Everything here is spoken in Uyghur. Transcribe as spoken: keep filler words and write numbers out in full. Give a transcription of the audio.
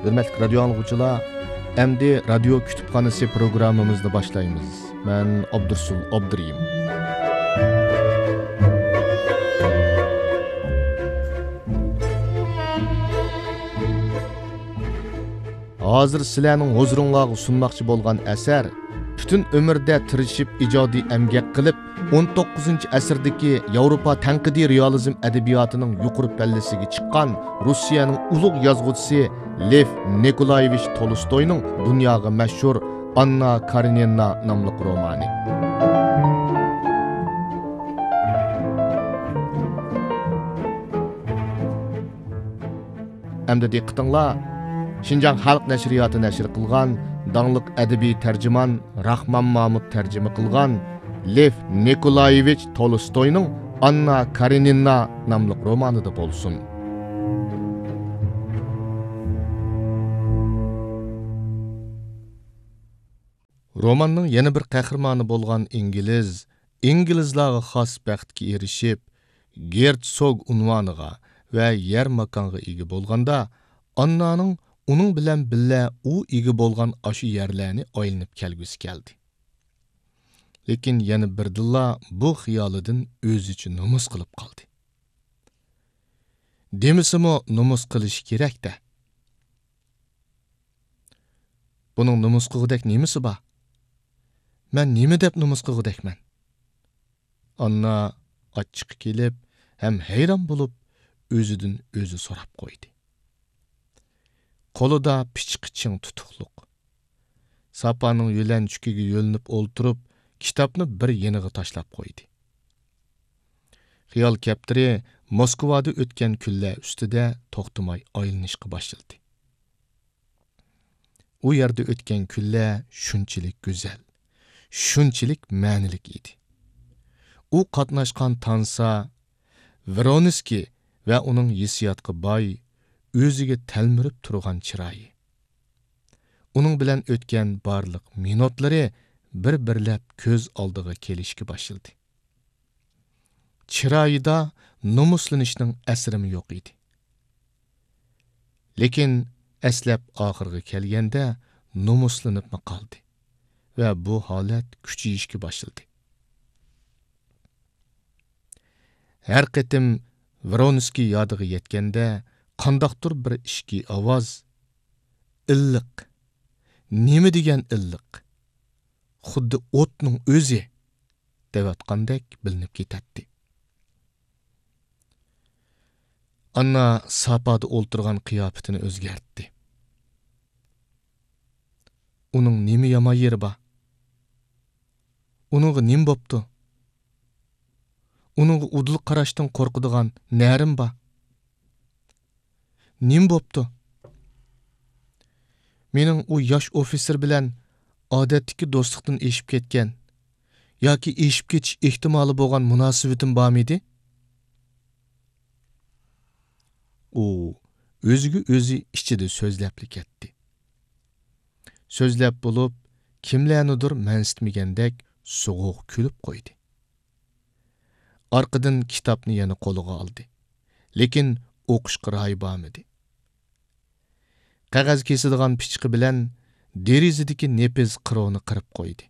ھۆرمەتلىك رادىيو ئاڭلىغۇچىلار، ئەمدى رادىيو كۇتۇپخانىسى پروگراممىمىزنى باشلايمىز. مەن ئابدۇرسۇل ئابدۇرېھىم. ھازىر سىلەرنىڭ ھۇزۇرۇڭلارغا سۇنماقچى بولغان ئەسەر، پۈتۈن ئۆمرىدە تىرىشىپ ئىجادىي ئەمگەك قىلىپ، ئون توققۇزىنچى ئەسىردىكى ياۋروپا تەنقىدىي رېئالىزم ئەدەبىياتىنىڭ يۇقىرى پەللىسىگە چىققان روسىيەنىڭ ئۇلۇغ يازغۇچىسى لېف نىكولايېۋىچ تولستوينىڭ دۇنياغا مەشھۇر ئاننا كارېنىنا ناملىق رومانى. ئەمدى دىققىتىڭلار، شىنجاڭ خەلق نەشرىياتى نەشر قىلغان داڭلىق ئەدەبىي تەرجىمان راخمان مامۇت تەرجىمە قىلغان لېف نىكولايېۋىچ تولستوينىڭ ئاننا كارېنىنا ناملىق رومانىدا بولسۇن. روماننىڭ يەنە بىر قەھرىمانى بولغان ئىنگلىز، ئىنگلىزلارغا خاس بەختكە ئېرىشىپ، گېرتسوگ ئۇنۋانىغا ۋە يەر ماكانغا ئىگە بولغاندا، ئاننانىڭ ئۇنىڭ بىلەن بىللە ئۇ ئىگە بولغان ئاشۇ يەرلەرنى ئايلىنىپ كەلگۈسى كەلدى. لېكىن يەنە بىردىنلا بۇ خىيالىدىن ئۆزىچە نومۇس قىلىپ قالدى. دېمىسىمۇ نومۇس قىلىشى كېرەك-دە. بۇنىڭ نومۇس قىلغۇدەك نېمىسى بار؟ مەن نېمە دەپ نومۇس قىلغۇدەكمەن؟ ئاننا ئاچچىقى كېلىپ ھەم ھەيران بولۇپ، ئۆزىدىن ئۆزى سوراپ قويدى. قولىدا پىچىقى چىڭ تۇتۇقلۇق. ساپانىڭ يۆلەنچۈكىگە يۆلىنىپ ئولتۇرۇپ، كىتابنى بىر يېنىغا تاشلاپ قويدى. خىيال كەپتىرى موسكۋادا ئۆتكەن كۈنلەر ئۈستىدە توختىماي ئايلىنىشقا باشلىدى. ئۇ يەردە ئۆتكەن كۈنلەر شۇنچىلىك گۈزەل، شۇنچىلىك مەنىلىك ئىدى. ئۇ قاتناشقان تانسا، ۋرونسكىي ۋە ئۇنىڭ ھېسسىياتقا باي، ئۆزىگە تەلمۈرۈپ تۇرغان چىرايى. ئۇنىڭ بىلەن ئۆتكەن بارلىق مىنۇتلىرى بىر-بىرلەپ كۆز ئالدىغا كېلىشكە باشلىدى. چىرايىدا نومۇسلىنىشنىڭ ئەسىرىمۇ يوق ئىدى. لېكىن ئەسلەپ ئاخىرىغا كەلگەندە نومۇسلىنىپمۇ قالدى ۋە بۇ ھالەت كۈچىيىشكە باشلىدى. ھەر قېتىم ۋرونسكىي يادىغا يەتكەندە، قانداقتۇر بىر ئىچكى ئاۋاز، «ئىللىق! نېمە دېگەن ئىللىق! خۇددى ئوتنىڭ ئۆزى!» دەۋاتقاندەك بىلىنىپ كېتەتتى. ئاننا ساپادا ئولتۇرغان قىياپىتىنى ئۆزگەرتتى. ئۇنىڭ نېمە يامان يېرى بار؟ ئۇنىڭغا نېمە بوپتۇ؟ ئۇنىڭغا ئۇدۇل قاراشتىن قورقىدىغان نەرىم بار؟ نېمە بوپتۇ؟ مېنىڭ ئۇ ياش ئوفىتسېر بىلەن ئادەتتىكى دوستلۇقتىن ئېشىپ كەتكەن ياكى ئېشىپ كېتىش ئېھتىمالى بولغان مۇناسىۋىتىم بارمىدى؟ ئۇ ئۆزىگە ئۆزى ئىچىدە سۆزلەپلا كەتتى. سۆزلەپ بولۇپ، كىملەرنىدۇر مەنسىتمىگەندەك سوغۇق كۈلۈپ قويدى. ئارقىدىن كىتابنى يەنە قولىغا ئالدى. لېكىن ئوقۇشقا رايى بارمىدى. قەغەز كېسىدىغان پىچىقى بىلەن دېرىزىدىكى نېپىز قىروۋنى قىرىپ قويدى.